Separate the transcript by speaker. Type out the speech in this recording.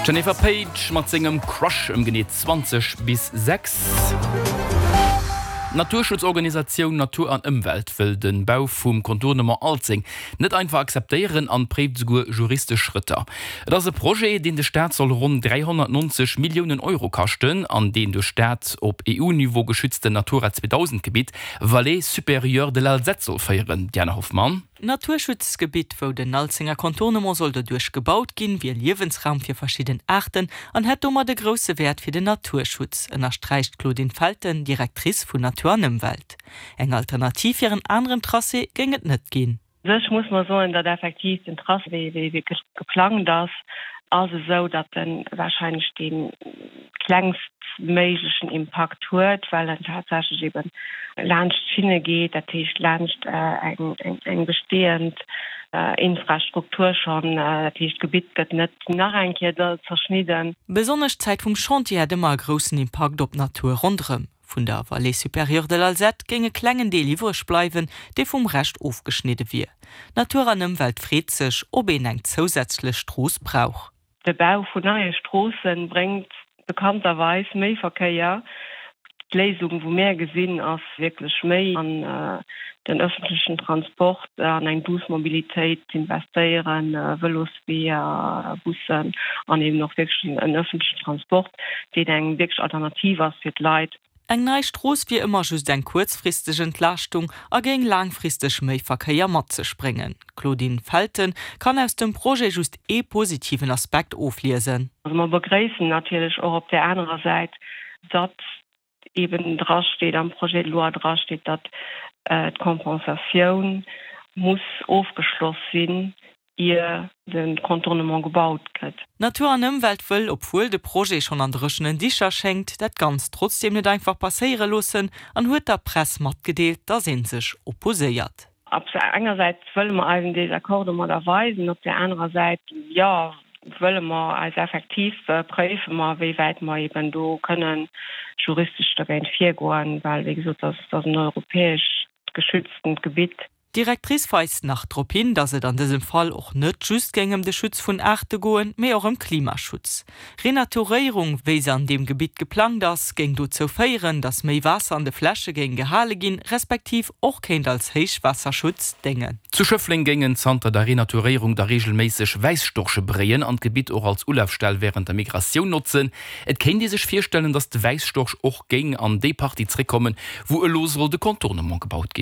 Speaker 1: D'Jennifer Paige mat sengem Crush ëm genee 20 bis 6. D'Naturschutzorganisatioun Natur an Ëmwelt wëll de Bau vum Contournement Alzeng net einfach akzeptéieren an préift esouguer juristesch Schrëtter. Et ass e Projet, deen de Staat soll ronn 390 Milliounen Euro kaschten an deen duerch dat op EU-Niveau geschützten Natura 2000 Gebitt Vallée supérieure de l'Alzette soll féieren. Diane Hoffmann.
Speaker 2: D'Naturschutzgebitt, wou den Alzenger Contournement soll doduerch gebaut ginn, wier Liewensraum fir verschidden Aarten an hätt domat e grousse Wäert fir den Naturschutz, ënnersträicht d'Claudine Felten, Directrice vun Natur an Ëmwelt. Eng Alternativ fir en aneren Tracé géing et net ginn.
Speaker 3: U sech muss mer soen, datt effektiv den Tracé, wéi e wierklech geplangt ass, ass esou, datt e warscheinlech dee klengstméiglechen Impakt huet, well en tatsächlech eben laanscht d'Schinne geet, dat heescht laanscht eng bestehend Infrastruktur schonn. Dat heescht, d'Gebitt gëtt net nach eng Kéier zerschnidden.
Speaker 2: Besonnesch d'Zäit vum Chantier hätt ëmmer e groussen Impakt op d'Natur ronderëm. Vun der Vallée supérieure de l'Alzette géing e klengen Deel iwwreg bleiwen, dee vum Rescht ofgeschnidde wier. Natur an Ëmwelt freet sech, ob een eng zousätzlech Strooss brauch.
Speaker 3: De Bau vun neie Stroosse bréngt bekannterweis méi Verkéier. D'Léisung, wou mär gesinn, ass wierklech méi an den ëffentlechen Transport, an eng douce Mobilitéit z'investéieren, Vëlosweeër, Bussen an eben och wierklech en ëffentlechen Transport, deen eng wierklech Alternativ ass fir d'Leit.
Speaker 2: Eng nei Strooss wier ëmmer just eng kuerzfristeg Entlaaschtung a géing laangfristeg méi Verkéier mat sech bréngen. D'Claudine Felten kann aus dem Projet just ee positiven Aspekt ofliesen.
Speaker 3: Also mer begréissen natierlech och op där anerer Säit, datt eeben drasteet, am Projet de loi drasteet, datt d'Compensatioun muss ofgeschloss sinn, ier de Contournement gebaut gëtt.
Speaker 2: Natur an Ëmwelt wëll, obwuel de Projet schonn an dréchenen Dicher schéngt, dat Ganzt trotzdeem net einfach passéiere loossen an huet der Press matgedeelt, datt ee sech opposéiert.
Speaker 3: Op der enger Säit wëlle mer eisen Désaccord domadder weisen, op där anerer Säit, jo, wëlle mer eis effektiv préife mer, wéi wäit mer eben do kënnen juristesch dergéint virgoen, well, wéi gesot, dat ass en europäescht geschütztent Gebitt.
Speaker 2: D'Directrice weist nach drop hin, datt et an dësem Fall och net just géing ëm de Schutz vun Aarte goen, mee och ëm Klimaschutz. Renaturéierung, wéi se an deem Gebitt geplangt ass, géing dozou féieren, datt méi Waasser an de Fläche géing gehale ginn, respektiv och kéint als Héichwaasserschutz déngen.
Speaker 1: Zu Schëffleng géingen zanter der Renaturéierung da reegelméisseg Wäisstorche bréien an d'Gebitt och als Ulafstell wärend der Migratioun notzen. Et kéint ee sech virstellen, datt de Wäisstorch och géing an déi Partie zréckkommen, wou elo soll de Contournement gebaut ginn.